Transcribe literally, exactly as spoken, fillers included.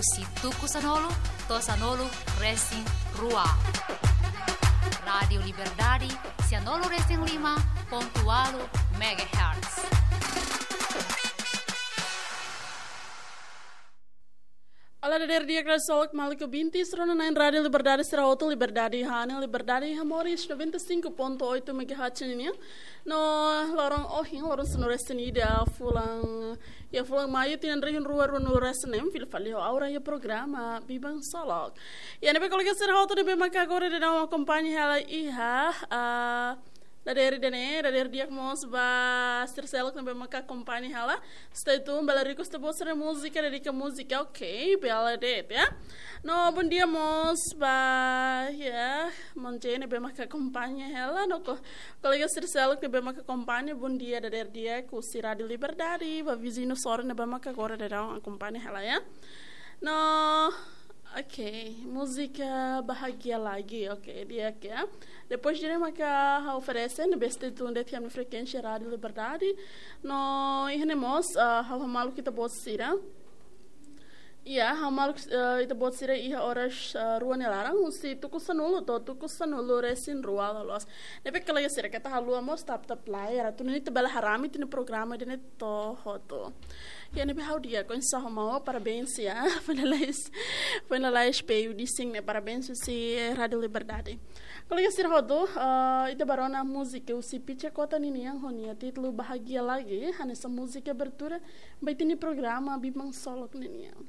Husi tuku sanulu to'o sanulu resin rua. Rádiu Liberdade, sanulu resin lima pontu ualu megahertz. Olá, dadeer di'ak, kresol, maluk bintis, rona na'in Rádiu Liberdade sira hotu, Liberdade iha ne'e, Liberdade iha moris, noventa e cinco ponto oito megahertz nian. No loron ohin, loron sanulu resin ida fulan, iha fulan Maiu, tinan rihun rua ruanulu resin neen, fila fali ho Aura iha programa Biban Solok. Iha ne'ebé kolega sira hotu ne'ebé maka agora daudaun akompaña hela iha, ah, dadeer ida-ne'e, dadeer di'ak mós ba sira seluk ne'ebé maka akompaña hela. Stay tuned, bele request ita-boot sira múzika, dedika múzika, ok, bele de'it, ya. No, bondia mós ba, ya, maun Jay ne'ebé maka akompaña hela, no ko-, kolega sira seluk ne'ebé maka akompaña, bondia dadeer di'ak husi Rádiu Liberdade, ba viziñu sira ne'ebé maka agora daudaun akompaña hela, ya. No, ok, múzika Bahagia Lagi, ok, di'ak, ya. Depois de maka ha'u oferese, ne'ebé stay tuned de'it iha ami-nia frekuénsia Rádiu Liberdade. No, iha ne'e mós, ah, ha'u hamaluk ita-boot sira. Ya, ha'u hamaluk, eh, ita-boot sira iha oras, eh, rua nia laran, husi tuku sanulu to'o tuku sanulu resin rua loloos. Ne'ebé kolega sira keta haluha mós tap-tap like, atu nune'e ita bele haree ami-nia programa ida-ne'e to'o hotu. Ya, ne'ebé ha'u di'ak, oinsá ho maun, parabéns, ya. Finalize, finalize P U D sing ne'e, parabéns husi Rádiu Liberdade. Kolega sira hotu, eh, ita bá rona múzika husi Picha Kota ninian ho nia títulu Bahagia Lagi, hanesan múzika abertura ba ita-nia programa Biban Solok ninian.